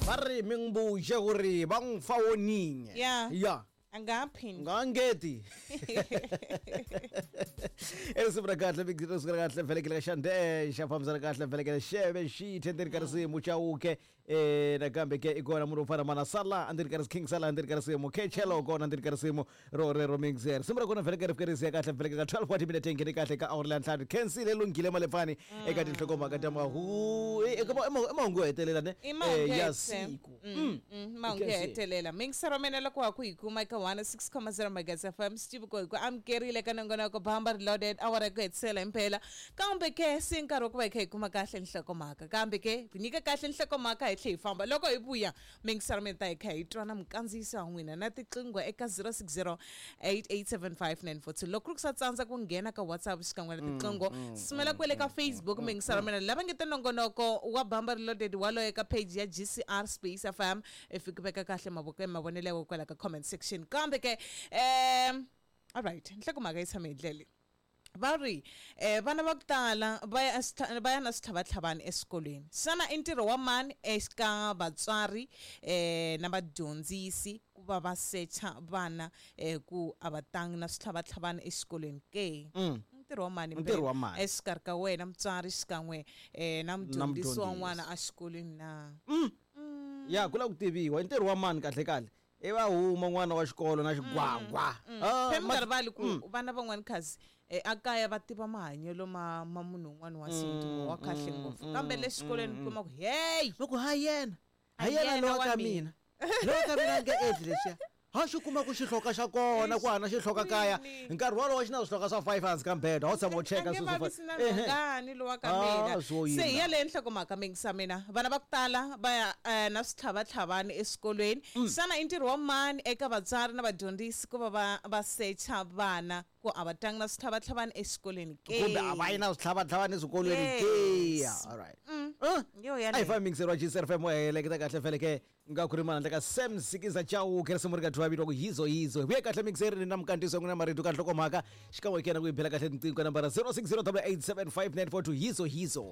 Va ri mi n'wi buxe ku ri va n'wi fa woninye. Ya. Ya. A nga ha phindi. Nga ngeti. Risimu ra kahle big risimu ra kahle vhelekele ka xande xa fambisana kahle vhelekele xeve xithe ndzeni ka risimu chauke nakambe ke i kona munhu wo fana mana sala endzeni ka king sala endzeni ka risimu khechelo kona endzeni ka risimu ro rero mixer risimu ra kona vhelekele ri fike ri siya kahle vhelekele ka 12 wa timinete nghene kahle ka awara leya ntlhanu khensile lunghile malepfani eka tinhlokomhaka ta mahu eka i mahungu yo hetelela ne I mahungu ya yo hetelela. siku. Mahungu yo Khensile. hetelela mixer wa mina loko wa ku hi kuma eka 106.0 Megas FM Steve ko hi ku amukerile ka nongonoko Bamba Reloaded awara ya ku hetisela himpela kambe ke se nkarhi wa ku va hi kha hi kuma kahle nhlokomhaka kambe ke ku nyika kahle nhlokomhaka hi tlhe hi famba loko hi vuya mixer wa mina ta hi kha hi twa na mukandziyiso wa n'wina na tiqingho eka 060 8875942 loko ku ri ku sa tsandza ku nghena ka WhatsApp xikan'we na tiqingho sumela kwele ka Facebook mixer wa mina lava nge te nongonoko wa Bamba Reloaded waloye ka page ya GCR Space FM i fiki veka kahle mavoko mavonelo ya wena kwala ka comment section kambe ke alright nhlokomhaka yi tshame hi ndlela leyi. Va ri vana va ku tala va ya va ya na switlhavatlhavani eswikolweni xana i ntirho wa mani eka vatswari na vadyondzisi ku va va secha vana ku a va tangi na switlhavatlhavani exikolweni ke? Ntirho wa mani Ntirho wa mani? Exikarhi ka wena mutswari xikan'we na mudyondzisi wa mudyondzisi. n'wana exikolweni na? Ya ku lava ku tiviwa i ntirho wa mani kahle kahle i va huma n'wana wa xikolo na xigwagwa. Ah, Phela mi nga rivali ku vana van'wani khazi a kaya va tiva mahanyelo ma munhu un'wana wa sintu wa kahle ngopfu kambe le xikolweni u kuma ku hey va ku ha yena ha Ha yena yena lowa wa ka mina. mina lowa ka mina a nge endli leswiya ha xi kuma ku xihloka xa kona ku hana xihloka kaya Xikwini. nkarhi wolowo xi na swihloka swa 5 hansi ka mbedwa a wu tshama u cheka A nge swilo swo vavisi na Ehe. nhongani lowa ka Ah, mina swo se hi yini. yaleyo nhlokomhaka mingisa mina vana va ku tala va ya na switlhavatlhavani eswikolweni xana i ntirho wa mani eka vatswari na vadyondzisi ku va va secha vana ku a va tangi na switlhavatlhavani exikolweni ke? Kumbe a va yi na switlhavatlhavani eswikolweni ke? Yes. Alright. Yo A hi yaleyo. fambi mingiseri wa GCR FM wa heleketa kahle feleke nga ku ri mana ka Sam Sikiza Chauke risimu ri ka thwa vitiwa ku yizo yizo hi vuye kahle mingiseri na mukandziyiso n'wina marito ka nhlokomhaka xikan'we kena ku yi bela kahle tinqingho ka nambara 0608875942 yizo yizo.